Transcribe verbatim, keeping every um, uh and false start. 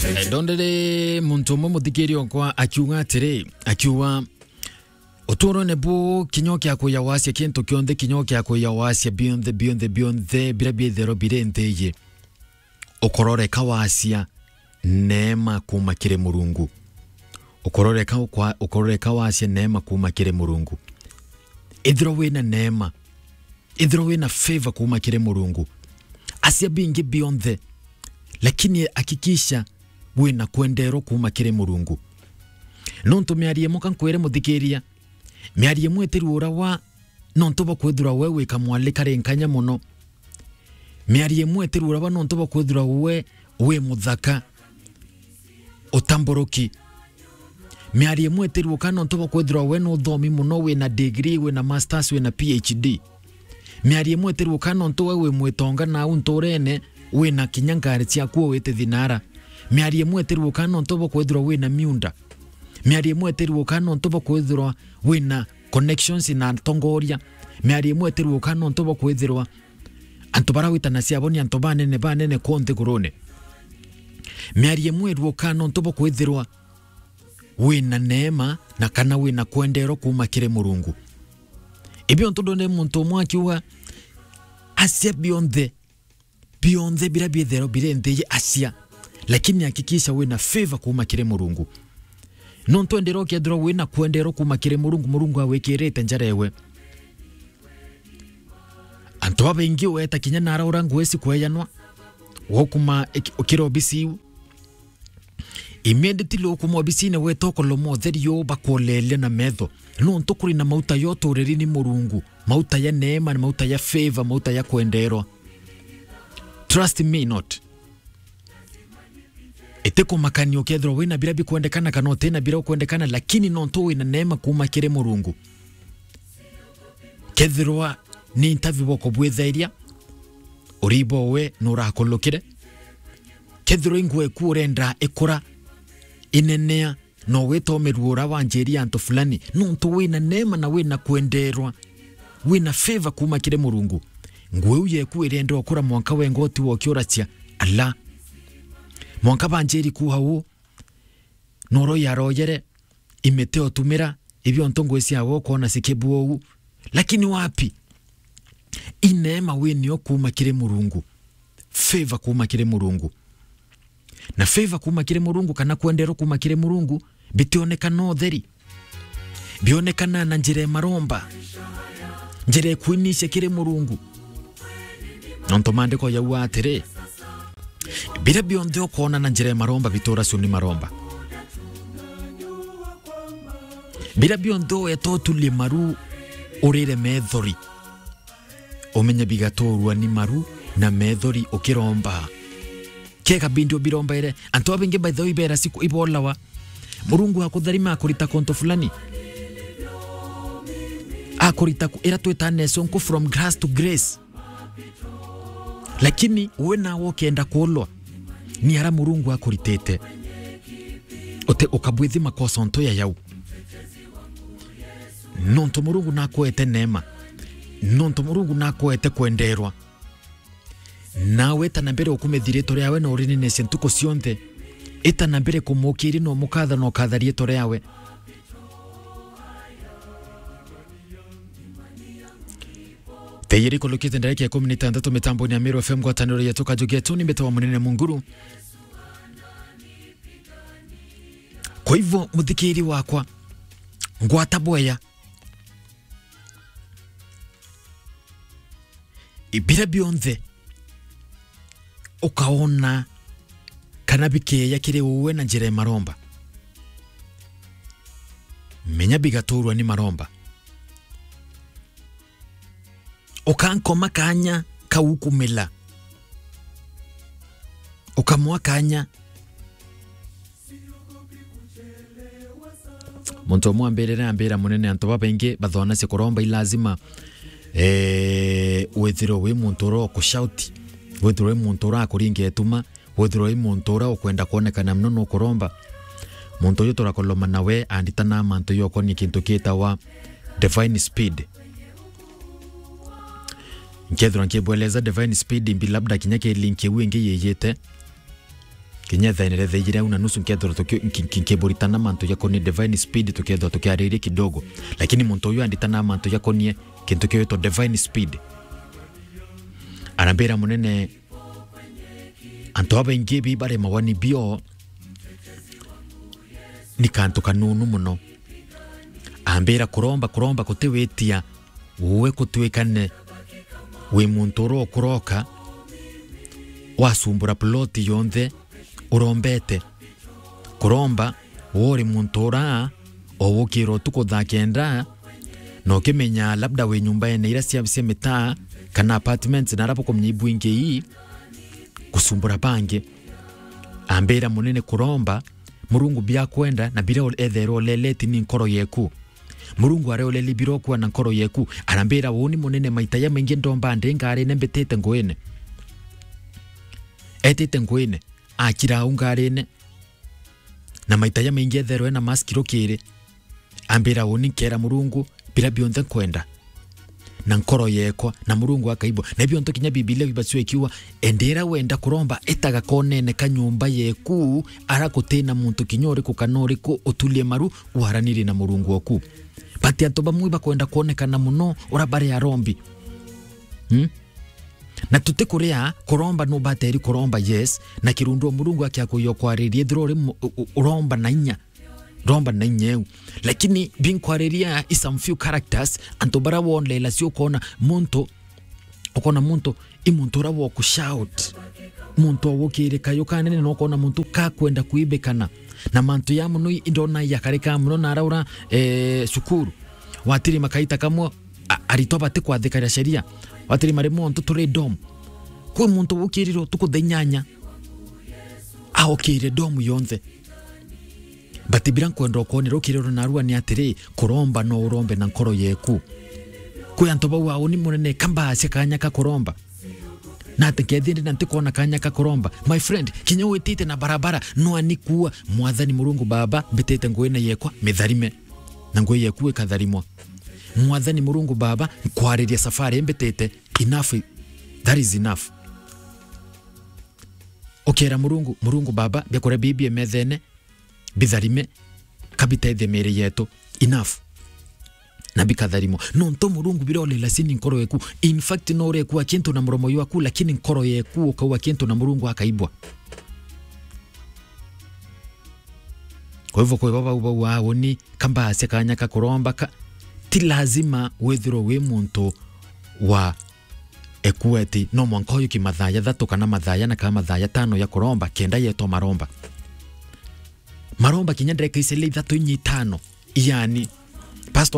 Eh, ndondere muntu umwe muthikiri okwa akiuga atiri, akiuga, "Uturone bu kinyo kia kuya wasia kintu kionthe, kinyo kia kuya wasia bionthe, bionthe, bionthe, bira biithero biri nthi iji. Ukororeka wasia neema kuuma kiri Murungu. Ukororeka ukwa-, ukororeka wasia neema kuuma kiri Murungu. Ithirwa wina neema, ithirwa wina favor kuuma kiri Murungu. Asia bingi bionthe, lakini hakikisha wina kwenderwa kuuma kiri Murungu." Nontu miario imwe ka nkwire muthikiria, miario imwe itirua ura wa nontu bwa kwithirwa we wi kamwali kari nkanya mono. Miario imwe itirua ura wa nontu bwa kwithirwa we wi muthaka utamburuki. Miario imwe itirua kana nontu bwa kwithirwa we ni uthomi mono, wina degree, wina masters, wina P H D. Miario imwe itirua kana nontu we wi mwitonga nau nturene, wina kinya ngari ciaku wite thinara. Miario imwe itirua kana nontu bwa kwithirwa wina miunda. Miario imwe itirua kana nontu bwa kwithirwa wina connections na atongoria. Miario imwe itirua kana nontu bwa kwithirwa antu bara witanacia abo ni antu banene, banene ku nthigurune. Miario imwe irua kana nontu bwa kwithirwa wina neema na kana wina kwenderwa kuuma kiri Murungu. Ibio ntu ndone muntu umwe akiuga, "Asia bionthe, bionthe bira biithero biri nthi iji asia, lakini hakikisha wina favor kuuma kiri Murungu." Nontu enderwa ukethirwa wina kwenderwa kuuma kiri Murungu, Murungu awikirite njara ewe. Antu babaingi weta kinya nara ura ngugi cikwejanwa, wokuma iki-, ukira obisi iu. Immediately ukuma obisine weta ukoloma utheri uu bakuoleria na metho. Nontu kuri na mauta ya uturiri ni Murungu, mauta ya neema, ni mauta ya favor, mauta ya kwenderwa. Trust me not. Itikumakania ukethirwa wina bira bikwendekana kana utina bira ukwendekana, lakini nontu wina neema kuuma kiri Murungu. Kethirwa ni interview bokubwithairia, uribo we nurakulukire. Kethirwa ingwe ku urenda ikura, inenea, no wita umirua ura wanjiria antu fulani, nontu wina neema na wina kwenderwa, wina favor kuuma kiri Murungu. Nguu iu yeku irenda ukura mwanka wenga uti wokiuracia, ala. Mwanka banjiri kuuha uu, noro yaroyere, imete otumira, ibio ntu ngui ciawe ukoona cikibua uu. Lakini wapi? Ineema winio kuuma kiri Murungu. Favor kuuma kiri Murungu. Na favor kuuma kiri Murungu kana kwenderwa kuuma kiri Murungu bitionekana utheri. Bionekana na njira ya maromba. Njira ya kwinicia kiri Murungu. Nontu maandiko yauga atiri, bira bionthe ukoona na njira ya maromba bitura cio ni maromba. Bira bionthe ueta utulie maru urire methori. Umenye bigaturwa ni maru na methori ukiromba. Kega bindi ubirombaire. Antu babaingi by the way ibera siku ibolawa. Murungu akutharima akurita kuntu fulani. Akurita ku-, ira twita nesonku from grass to grace. Lakini we nawe ukenda kulwa ni ara Murungu akuritite. Ute ukabwithi makosa onto ya yau. Nontu Murungu nakwete neema. Nontu Murungu nakwete kwenderwa. Nawe ita na mbere ukumithia riitwa riawe na urininecia ntuku cionthe. Ita na mbere kumukiria na umukatha na ukatha riitwa riawe. Thaa ijiri ikulukite ndarika ikumi na itantatu mitamboni ya Meru F M ngwataniro yetu Kajugetu ni mbitawa Munene Munguru. Kwa hivyo, muthikiri wakwa, ngwata bwea. Ibira bionthe ukaona kana bikeeja kiri uwe na njira ya maromba, menya bigaturwa ni maromba. Ukankoma kanya kau kumila. Ukamwa kanya. Muntu umwe ambirire ambira, "Munene, antu babaingi bathonacia kuromba, i lazima, eh, withirwe wi muntu ura ukushauti, withirwe wi muntu ura akuringa ituma, withirwe wi muntu ura ukwenda kwonekana mono nukuromba." Muntu uyu turakoloma nawe anditana mantu yokonie kintu kitawa divine speed. Nkethirwa nkibweleza divine speed mbi, labda kinya ki link iu ingi yiyite. Kinya thaa inere thaa ijiri au na nusu nkethirwa tuki-, nki-, nki-, nkiburitana mantu jakonie divine speed, tukethirwa tukiariria kidogo. Lakini muntu uyu anditana mantu jakonie kintu kiwitwa divine speed. Arambira, "Munene, antu babaingi bi baremagwa ni bio, ni kantu kanunu muno." Ambira, "Kuromba, kuromba gutiwitia, we gutwikane wi muntu urokuroka, wasumbura ploti yonthe urombete. Kuromba, we uri muntu ura o wukira utuku thaa kenda, na ukimenya labda wi nyumbene ira cia, cia mitaa, kana apartments, na ara bukumenya ibwingi ii, gusumbura bangi." Ambira, "Munene, kuromba, Murungu biakwenda na biria etherwa uleleti ni nkoro yeku. Murungu areoleli birokua na nkoro yeku." Arambira, "Uuni munene, maita jamaingi ndomba ndi ngarine mbitite nguine." Etite nguine, akira au ngarine. Na maita jamaingi etherwa ena mask rukiri. Ambira, "Uuni nkera Murungu biria bionthe nkwenda na nkoro yekwa," na Murungu akaibwa. Na ibio nto kinya Bibilia bibacua ikiuga, "Endera wenda kuromba, itaga konene ka nyumba yeku, ara gutina muntu kinya uriku kana uriku utulie maru, waranirie na Murungu oku." But antu bamwe bakwenda kwonekana muno ura bari arombi. Hmm? Na tutikuria kuromba, nubateri kuromba, yes, na kirundu Murungu akiakuya kwariria, ethirwa uri mu-, u-, u-, uromba na inya. Romba na inya iu. Lakini binkwariria i some few characters, antu bara wonlela cio ukona muntu, ukona muntu, i muntu ura wa ku shout. Muntu wa gukirika yo kanene, na ukona muntu kakwenda kuibikana. Na mantu ya muno i-, indona yakarika muno na araura, eh, cukuru. Watiri makaita kamwe, a-, aritwa bati kwathikira sheria. Watiri mari muntu turi dom. Kwi muntu wukirire utuku thaa inyanya. Aukire dom yonthe. But bira nkwenda ukwonera ukiriro narua ni atiri, kuromba no urombe na nkoro yeku. Kwi antu bau auni munene, kambacia kanya ka kuromba. Na ati nkethi ndi na ntikwona kanya ka kuromba. My friend, kinya witite na barabara, no ani kuua, "Mwathani Murungu Baba, mbitite nguine yekwa, mitharime." Na ngui yeku ikatharimwa. "Mwathani Murungu Baba, nkwariria safari mbitite, enough, that is enough." Ukera Murungu, "Murungu Baba, biakuria bibi emethene, bitharime, kabitethie miri yetu." Enough. Na bikatharimwa. Nontu Murungu birolela sini nkoro yeku. In fact, no urekua kintu na muromo jwaku, lakini nkoro yeku ukauga kintu na Murungu akaibwa. Kwa hivyo, kwa baba bau auni, kambacia kanya ka kuromba ka, ti lazima withirwe wi muntu wa ekueti, no mwanka uyu ki mathaa jathatu kana mathaa jana kana mathaa jatano ya kuromba, kenda yetwa maromba. Maromba kinya ndeka icele ithatu inya itano, yani, Pastor